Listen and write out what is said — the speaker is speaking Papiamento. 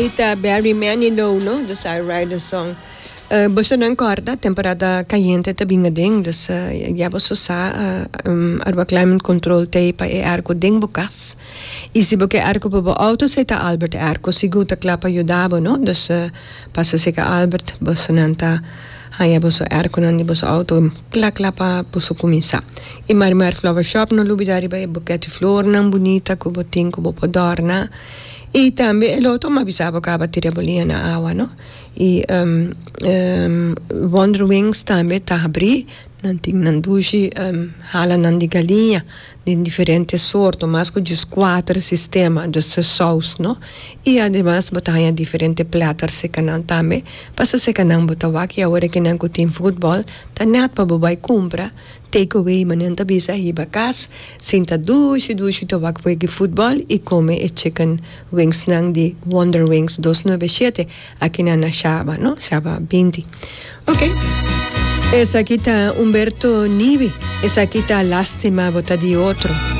Esey ta Barry Manilow no, dus I write a song. Boso nan corda temporada cayente ta bin aden, dus ya boso sa Aruba Climate Control ta ey pa e airco den bo cas. Y si bo ke airco pa bo auto esey ta Albert Airco, sigur ta cla pa yuda bo no, dus pasa cerca Albert boso nan ta haya boso airconan di boso auto cla cla pa boso cuminsa. Y Marimar Flower Shop no lubida riba e buket di flornan bunita cu bo tin cu bo por dorna. Y tambe e loto m'a bisa bo caba tira bo liña na awa no. Y Wonder Wings tambe ta habri, nan tin nan dushi halanan di galiña den diferente sorto, mas cu dieskuater sistema, dus saus no. Y ademas bo ta haña diferente platter seca nan tambe, pasa seca nan bo ta wak y awor e kinan cu tin futbol ta net pa bo bay cumpra Take away manen ta bisa hiba cas sinta dushi dushi ta wak wega futbol y come e chicken wings nan di Wonder Wings dos nuebe shete aki nan na Shaba no Shaba binti ok esaki ta Humberto Nibi esaki ta lastima bo ta di otro.